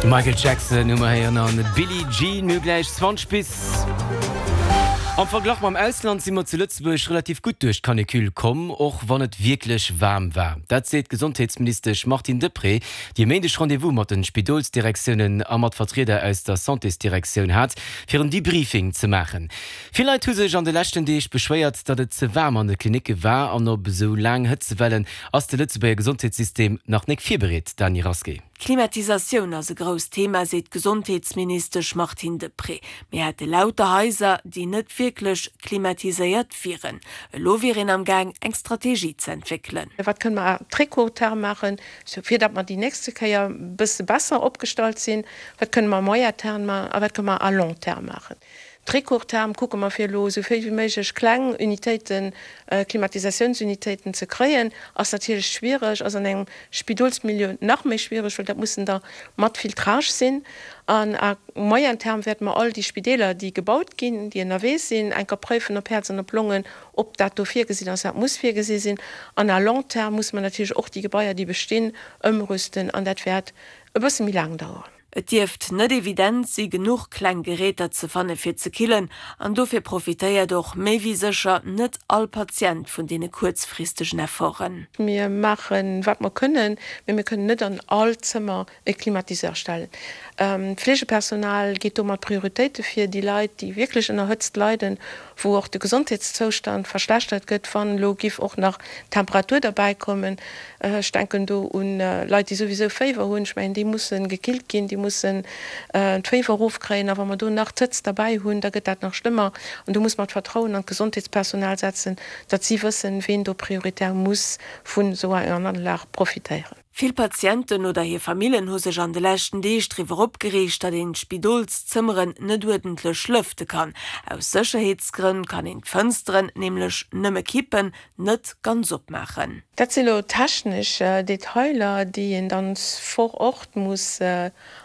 Michael Jackson hu mer héieren an Billie Jean. Mir hu gläich 20 bis. Am Verglach mam Ausland si mer zu Lëtzebuerg relativ gutt duerch d'Canicule komm, och wann et wierklech waarm war. Dat seet d'Gesondheetsministesch Martine Deprez, déi e Méindeg Rendez-vous mat de Spidolsdirektiounen a mat Vertrieder aus der Santésdirektioun hat, fir en Debriefing ze maachen. Vill Leit hu sech an de leschten Deeg beschwéiert, datt et ze waarm an de Klinicke war an op esou laang Hëtzewellen ass de Lëtzebuerger Gesondheetssystem nach nek virbereet, Dany Rasqué. D'Klimatisatioun ass e grousst Thema, seet d'Gesondheetsministesch Martine Deprez. Mir hätte lauter Haiser, déi net wierklech klimatiséiert wieren. Elo wier een am Gaang, eng Strategie ze entwéckelen. Wat kënne mer à très court terme maachen, fir datt mer déi nächste Kéier e bësse besser opgestallt sinn? Wat kënne mer à moyen terme maachen a wat kënne mer à long terme maachen? Très court terme kucke mer fir elo esou vill wéi méiglech kleng Unitéiten, Klimatisatiounsunitéiten ze kréien. Ass natierlech schwiereg, ass an engem Spidolsmilieu nach méi schwiereg, well dat mussen der mat Filtrage sinn. An à moyen terme wäerte mer all déi Spideeler, déi gebaut ginn, déi ënnerwee sinn, enker préifen op Häerz an op Longen, ob dat do virgesinn ass. Dat muss virgesi sinn. An à long terme musse mer natierlech och déi Gebaier, déi bestinn, ëmrüsten. An dat wäert e bësse méi laang daueren. Et dierft net evident si genuch kleng Geräter ze fanne fir ze killen an dofir profitéiert och méi wéi sécher net all Patient vun deene kuerzfristegen Efforten. Mir maachen, wat mer kënnen, mee mir kënnen net an all Zëmmer e Climatiseur stellen. D'Fleegepersonal geet do mat Prioritéite vir. Déi Leit, déi wierklech ënner Hëtzt leiden, wou och de Gesondheetszoustand verschlechtert gëtt, wann elo giff och nach d'Temperatur derbäikommen, Ech denken do un Leit, déi souwisou Féiwer hunn. Ech mengen, déi musse gekillt ginn, déi mussen d'Féiwer erofkréien. A wa mer do nach d'Hëtzt derbäi hunn, da gëtt dat nach schlëmmer. An do muss mer d'Vertrauen an d'Gesondheetspersonal setzen, datt si wëssen, ween do prioritär muss vun esou enger Anlag profitéieren. Vill Patienten oder hir Famillen hu sech an de leschten Deeg driwwer opgereegt, datt een d'Spidolszëmmeren net uerdentlech lëfte kann. Aus Sécherheetsgrënn kann een d'Fënsteren nämlech nëmme kippen, net ganz opmaachen. Dat si lo technesch Detailer, déi een dann vor Ort muss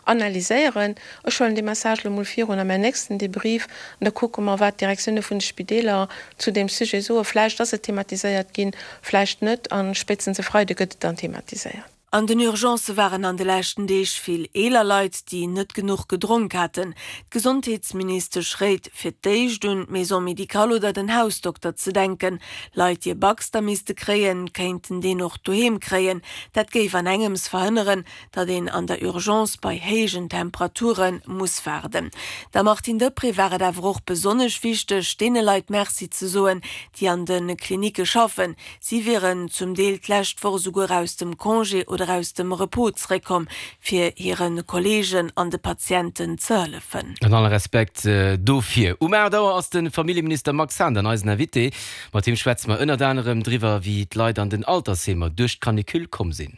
analyséieren. Ech huelen dee Message lo mol virun a mäin nächsten Debrief an da kucke mer, wat d'Direktioune vun de Spideeler zu deem Sujet soen. Vläicht ass et thematiséiert ginn, vläicht net a spéitstens e Freide gëtt et dann thematiséiert. An den Urgencë waren an de leschten Deeg vill eeler Leit, déi net genuch gedronk haten. D'Gesondheetsministesch réit, fir d'éischt un d'Maison médicale oder den Hausdokter ze denken. Leit, déi e Baxter misste kréien, kéinten deen och doheem kréien. Dat géif an engems verhënneren, datt een an der Urgence bei héijen Temperature muss waarden. Der Martine Deprez war et awer och besonnesch wichteg, deene Leit Merci ze soen, déi an de Klinicke schaffen. Si wieren zum Deel d'lescht Woch esouguer aus dem Congé oder aus dem Repos zeréckkomm, fir hire Kolleegen an de Patienten ze hëllefen. An alle Respekt dofir. Um 8 Auer ass de Familljeminister Max Hahn dann eisen Invité. Mat him schwätze mer ënnert anerem driwwer, wéi d'Leit an den Altersheemer duerch d'Canicule komm sinn.